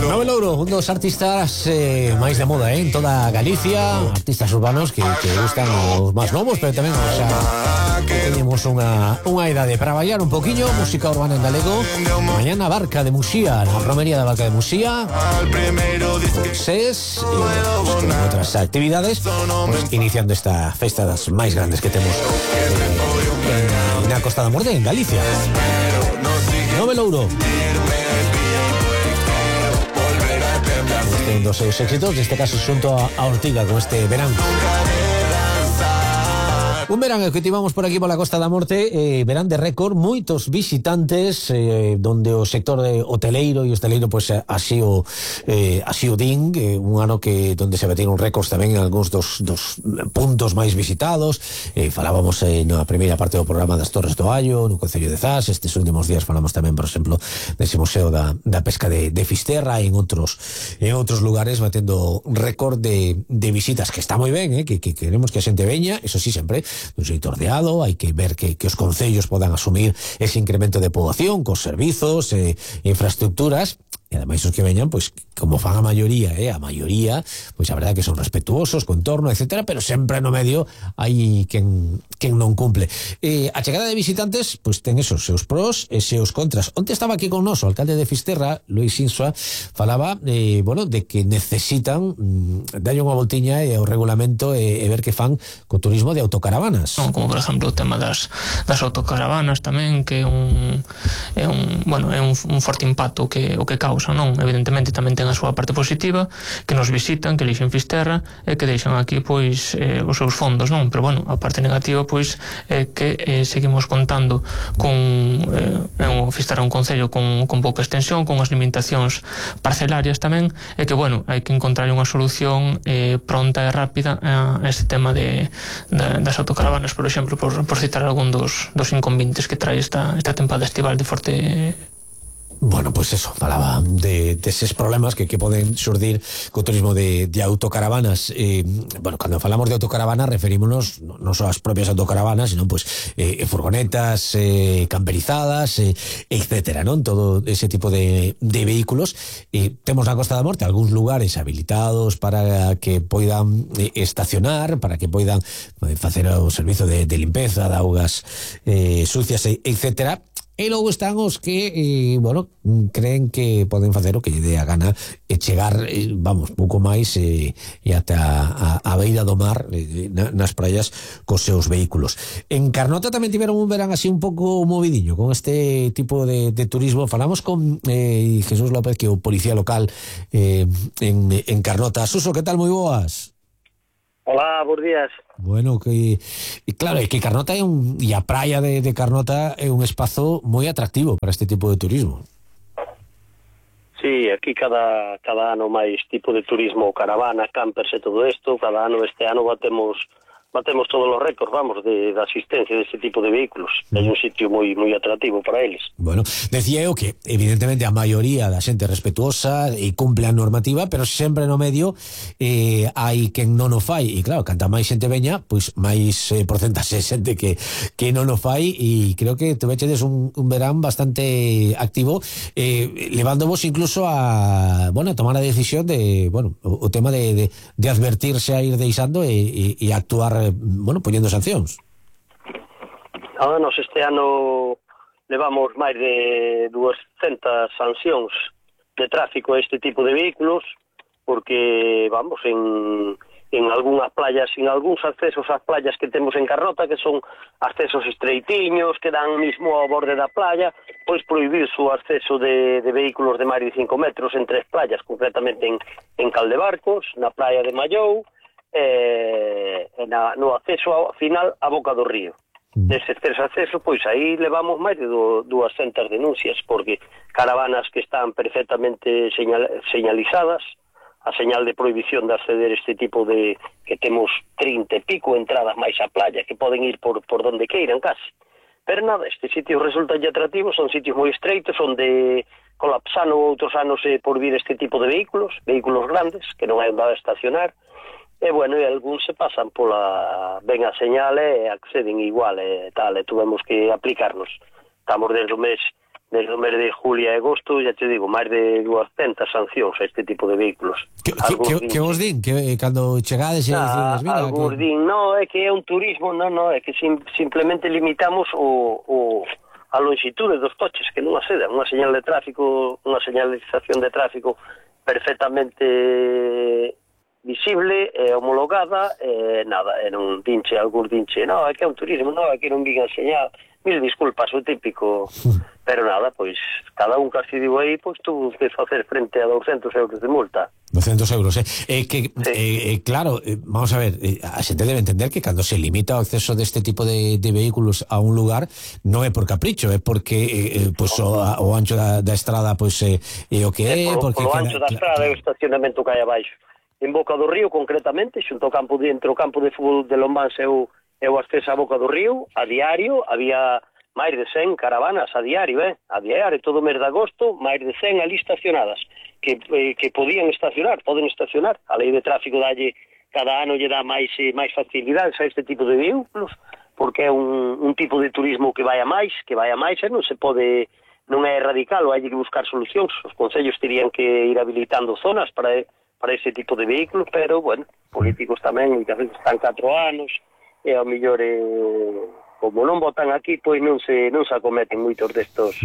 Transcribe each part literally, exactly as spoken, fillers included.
Nove Louro, un dos artistas eh, máis de moda eh, en toda Galicia, artistas urbanos que, que gustan aos máis novos, pero tamén o sea, tenemos unha, unha idade para bailar un poquinho, música urbana en galego. Mañana Barca de Muxía, na romería da Barca de Muxía, con SES e pues, con outras actividades, pues, iniciando esta festa das máis grandes que temos eh, na Costa da Morte, en Galicia. Nove Louro. Este é un dos seus éxitos, neste caso xunto a, a Ortiga con este verán. Un verán que tivamos por aquí pola Costa da Morte, eh, verán de récord, moitos visitantes, eh, donde o sector de hoteleiro e hosteleiro pois pues, así o eh, así o din, eh, un ano que donde se bateron récords tamén en algúns dos, dos puntos máis visitados. Eh, falábamos eh, na primeira parte do programa das Torres do Allo, no Concello de Zas. Estes últimos días falamos tamén, por exemplo, dese museo da, da pesca de, de Fisterra e en outros en outros lugares batendo récord de, de visitas, que está moi ben, eh, que, que queremos que a xente veña, eso sí, sempre dun xeito ordeado, hai que ver que, que os concellos podan asumir ese incremento de poboación cos servizos e eh, infraestructuras, e ademais os que veñan, pois, como fan a maioría, eh, a maioría, pois a verdade que son respetuosos, co entorno, etcétera, pero sempre no medio hai quen, quen non cumple. Eh, a chegada de visitantes, pois ten esos seus pros e seus contras. Onte estaba aquí con nos o alcalde de Fisterra, Luis Insua, falaba, eh, bueno, de que necesitan mm, darlle unha voltiña e ao regulamento e, e ver que fan co turismo de autocaravanas. No, como por exemplo o tema das, das autocaravanas tamén, que é un, é un, bueno, é un, un forte impacto que, o que causa, non? Evidentemente tamén ten a súa parte positiva, que nos visitan, que elixen Fisterra e que deixan aquí pois eh, os seus fondos, non? Pero bueno, a parte negativa pois é que eh, seguimos contando con eh, un Fisterra un concello con, con pouca extensión, con as limitacións parcelarias tamén, e que bueno, hai que encontrar unha solución eh, pronta e rápida a este tema de, de das autocaravanas, por exemplo, por, por citar algún dos, dos inconvenientes que trae esta, esta tempada estival de forte. Bueno, pues eso, falaba de, de esos problemas que, que poden xurdir co turismo de, de autocaravanas. Eh, bueno, cando falamos de autocaravanas referímonos non só ás propias autocaravanas, sino pues eh, furgonetas eh, camperizadas, eh, etcétera, non? Todo ese tipo de, de vehículos. Eh, temos na Costa da Morte algúns lugares habilitados para que poidan eh, estacionar, para que poidan eh, facer o servizo de, de limpeza de augas eh, sucias, etcétera. E logo están os que, eh, bueno, creen que poden facer o que lle dé a gana e chegar, eh, vamos, pouco máis eh, e ata a, a beira do mar eh, nas praias cos seus vehículos. En Carnota tamén tiveron un verán así un pouco movidiño con este tipo de, de turismo. Falamos con eh, Jesús López, que é o policía local eh, en, en Carnota. Suso, que tal? Moi boas. Hola, bons días. Bueno, que claro, é que Carnota é un e a praia de, de Carnota é un espazo moi atractivo para este tipo de turismo. Sí, aquí cada cada ano máis tipo de turismo, caravana, campers e todo isto. Cada ano, este ano batemos batemos todos os récords, vamos, de, de asistencia deste tipo de vehículos. É un sitio moi moi atractivo para eles. Bueno, decía eu que evidentemente a maioría da xente respetuosa e cumple a normativa, pero sempre no medio eh, hai quen non o fai, e claro, canta máis xente veña, pois máis eh, porcentaxe xente que, que non o fai, e creo que tuvechedes un, un verán bastante activo, eh, levándovos incluso a, bueno, a tomar a decisión de, bueno, o, o tema de, de, de advertirse a ir deixando e, e, e actuar, bueno, poñendo sancións. Ah, nos este ano levamos máis de duascentas sancións de tráfico a este tipo de vehículos, porque, vamos, en, en algunhas playas, en algúns accesos ás playas que temos en Carnota, que son accesos estreitiños, que dan mismo ao borde da playa, pois prohibir o acceso de, de vehículos de máis de cinco metros en tres playas, concretamente en, en Caldebarcos, na playa de Mallou, eh, na, no acceso ao final á boca do río. Deses tres accesos, pois aí levamos máis de duascentas denuncias, porque caravanas que están perfectamente señal, señalizadas, a señal de prohibición de acceder a este tipo de, que temos trinta e pico entradas máis á playa, que poden ir por, por donde queiran casi. Pero nada, estes sitios resultan atractivos, son sitios moi estreitos, onde colapsano outros anos eh, por vir este tipo de vehículos, vehículos grandes, que non hai onde estacionar. E, bueno, e algúns se pasan pola ben a señal e acceden igual e tal, e tuvemos que aplicarnos. Estamos desde o mes desde o mes de julio e agosto, ya te digo, máis de duascentas sancións a este tipo de vehículos. Que, que, que vos din? Que cando chegades e ah, dices, mira... Algúns que... din, no, é que é un turismo, no, no, é que sim, simplemente limitamos o, o, a longitude dos coches, que non acedan, unha señal de tráfico, unha señalización de tráfico perfectamente visible, eh, homologada, eh, nada, e non dinche, algún dinche, no, é que é un turismo, no, é que non vigan señal, mil disculpas, o típico, pero nada, pois, cada un que se digo aí, pois tuvo que facer frente a doscientos euros de multa. doscientos euros, eh? eh que, sí. eh, eh, claro, eh, vamos a ver, eh, a xente debe entender que cando se limita o acceso deste tipo de, de vehículos a un lugar, non é por capricho, é porque eh, pues, o, o ancho da, da estrada pois pues, eh, é o que é, é porque o queda, ancho da estrada é o estacionamento que hai abaixo. En Boca do Río, concretamente, xunto ao campo de, entre o campo de fútbol de Lombans e o, e o acceso a Boca do Río, a diario, había máis de cen caravanas a diario, eh? A diario, todo o mes de agosto, máis de cen ali estacionadas, que, eh, que podían estacionar, poden estacionar. A lei de tráfico dalle, cada ano lle dá máis, eh, máis facilidades a este tipo de vehículos, porque é un, un tipo de turismo que vai a máis, que vai a máis, e non se pode, non é radical, ou hai que buscar solucións. Os concellos terían que ir habilitando zonas para para ese tipo de vehículos, pero, bueno, políticos tamén, que a veces están catro anos, e ao mellor, eh, como non votan aquí, pois non se non se acometen moitos destos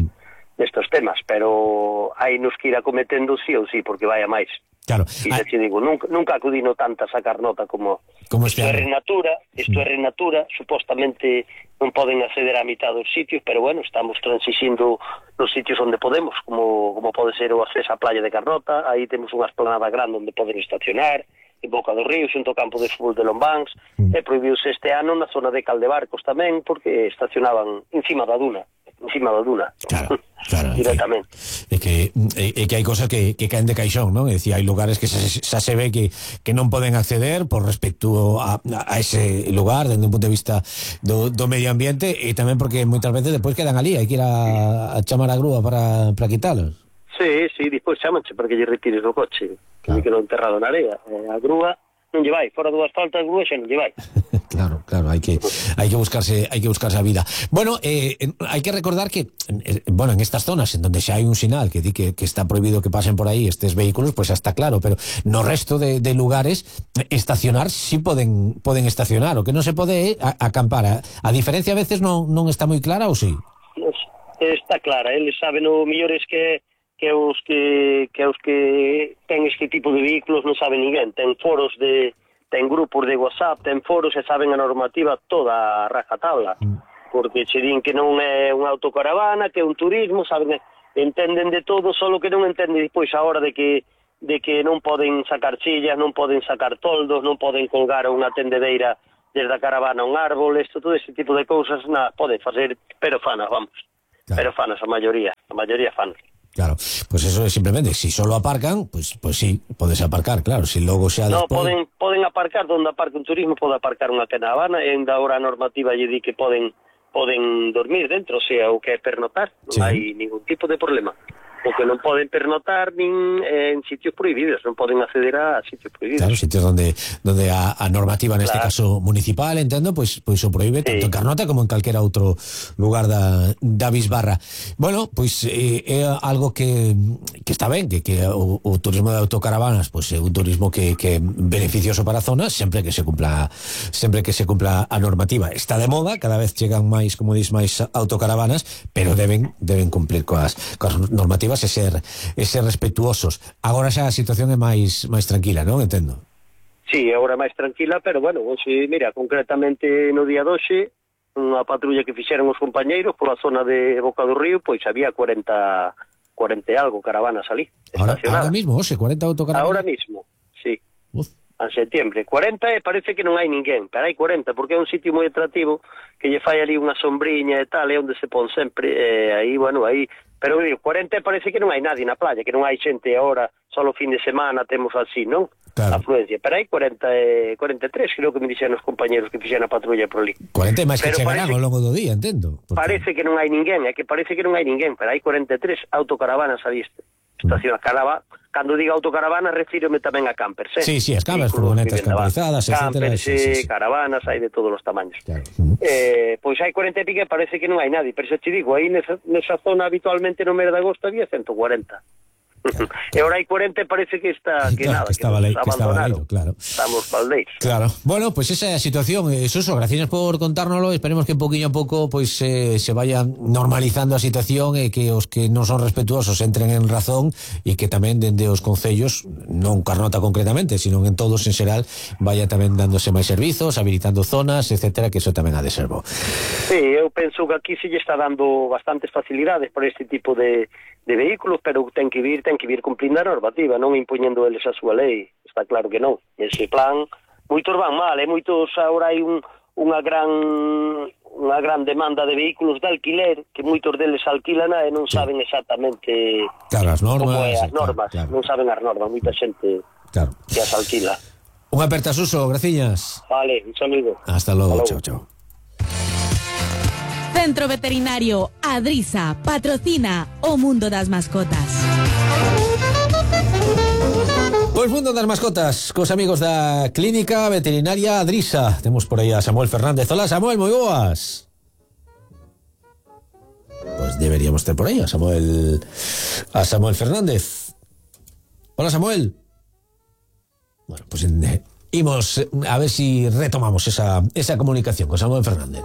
destos temas, pero hai nos que ir acometendo sí ou sí, porque vai a máis. Claro. E xa te digo, nunca, nunca acudino tanta a sacar nota como, como isto é Renatura, isto é Renatura, supostamente non poden acceder a mitad dos sitios, pero bueno, estamos transixindo nos sitios onde podemos, como, como pode ser o acceso á playa de Carnota, aí temos unha esplanada grande onde poden estacionar, en Boca do Río, xunto ao campo de fútbol de Lombans, mm. e prohibiuse este ano na zona de Caldebarcos tamén, porque estacionaban encima da duna, encima da duna. Claro, claro. Directamente. É que, é, é que hai cosas que, que caen de caixón, non? É dicir, hai lugares que xa, xa se ve que, que non poden acceder por respecto a, a ese lugar, desde un punto de vista do, do medio ambiente, e tamén porque moitas veces depois quedan ali, hai que ir a, a chamar a grúa para, para quitalos. Sí, sí, despois chamanche para que lle retires o coche, claro. Que non enterrado na area. Eh, a grúa non lle vai, fora do asfalto a grúa xa non lle vai. Claro, claro, hai que hai que buscarse, hai que buscarse a vida. Bueno, eh, hai que recordar que eh, bueno, en estas zonas en donde xa hai un sinal que di que, que está prohibido que pasen por aí estes vehículos, pues xa está claro, pero no resto de, de lugares estacionar sí poden poden estacionar, o que non se pode é acampar. A, a diferencia a veces non non está moi clara ou sí? Está clara, eles saben o mellor es que que os que que os que ten este tipo de vehículos non saben ninguén, ten foros de ten grupos de WhatsApp, ten foros e saben a normativa toda a rajatabla, mm. porque che din que non é unha autocaravana, que é un turismo, saben, entenden de todo, solo que non entenden despois a hora de que de que non poden sacar chillas, non poden sacar toldos, non poden colgar unha tendedeira desde a caravana a un árbol, isto, todo ese tipo de cousas, na, poden facer, pero fanas, vamos, claro. Pero fanas a maioría, a maioría fanas. Claro, pues eso es simplemente, si solo aparcan, pues pues sí, podes aparcar, claro, si logo xa despois... No, despois... poden, poden aparcar donde aparca un turismo, pode aparcar unha caravana, e ainda ahora a normativa lle di que poden poden dormir dentro, o sea, o que é pernotar, non sí. Hai ningún tipo de problema. O que non poden pernotar nin en sitios prohibidos, non poden acceder a sitios prohibidos. Claro, sitios donde donde a, a normativa neste claro. Caso municipal, entendo, pois pois o prohíbe sí. Tanto en Carnota como en calquera outro lugar da da Bisbarra. Bueno, pois eh, é algo que que está ben, que que o, o turismo de autocaravanas, pois é un turismo que que é beneficioso para a zona, sempre que se cumpla sempre que se cumpla a normativa. Está de moda, cada vez chegan máis, como dis, máis autocaravanas, pero deben deben cumplir coas coas normativas e ser, e ser respetuosos. Agora xa a situación é máis máis tranquila, non? Entendo. Sí, agora máis tranquila, pero bueno, hoxe, mira, concretamente no día doxe, unha patrulla que fixeron os compañeiros pola zona de Boca do Río, pois había cuarenta, cuarenta e algo caravanas ali, ahora, ahora mismo, hoxe, cuarenta autocaravanas? Ahora mismo, sí. Uf. En setembro. cuarenta e parece que non hai ninguén, pero hai cuarenta, porque é un sitio moi atractivo, que lle fai ali unha sombriña e tal, é onde se pon sempre, e aí, bueno, aí... Pero digo, cuarenta parece que non hai nadie na playa, que non hai xente agora, só o fin de semana temos así, non? Claro. Afluencia, pero hai cuarenta, cuarenta e tres, creo que me dixeron os compañeros que fixeron a patrulla por ali. cuarenta máis que chegarán ao longo do día, entendo. Porque... Parece que non hai ninguén, é que parece que non hai ninguén, pero hai cuarenta e tres autocaravanas ali este. Estación, mm. carava, cando diga autocaravana, refírome tamén a campers, eh? Sí, sí, as campers, furgonetas camperizadas, etcétera. Campers, sí, sí, sí. Caravanas, hai de todos os tamaños. Claro. Eh, pois hai cuarenta e pique, parece que non hai nadie, pero xa te digo, aí nesa, nesa zona habitualmente no mes de agosto había ciento cuarenta. Claro, claro. E ahora hai cuarenta, parece que está que claro, nada, que estaba que, que estaba leído, claro. Estamos baldeiros. Claro. Bueno, pues esa é a situación, eh, Suso, gracias por contárnoslo, esperemos que poquinho a pouco pois eh, se vaya normalizando a situación e que os que non son respetuosos entren en razón e que tamén dende os concellos, non Carnota concretamente, sino en todos en xeral, vaya tamén dándose máis servizos, habilitando zonas, etcétera, que eso tamén ha de ser bo. Sí, eu penso que aquí se lle está dando bastantes facilidades por este tipo de de vehículos, pero ten que vir, ten que vir cumplindo a normativa, non impoñendo eles a súa lei, está claro que non. Ese plan, moitos van mal, e moitos agora hai un, unha gran unha gran demanda de vehículos de alquiler, que moitos deles alquilan e non sí. saben exactamente claro, as normas, como é as normas, claro, claro. non saben as normas, moita xente claro. que as alquila. Unha aperta, Suso, graciñas. Vale, un saludo. Hasta logo, chao, chao. Centro Veterinario Adrisa patrocina o mundo das mascotas. Pois mundo das mascotas, cos amigos da Clínica Veterinaria Adrisa. Temos por aí a Samuel Fernández. Hola, Samuel, moi boas. Pois deberíamos ter por aí a Samuel a Samuel Fernández. Hola, Samuel. Bueno, pois pues, eh, imos a ver si retomamos esa esa comunicación con Samuel Fernández.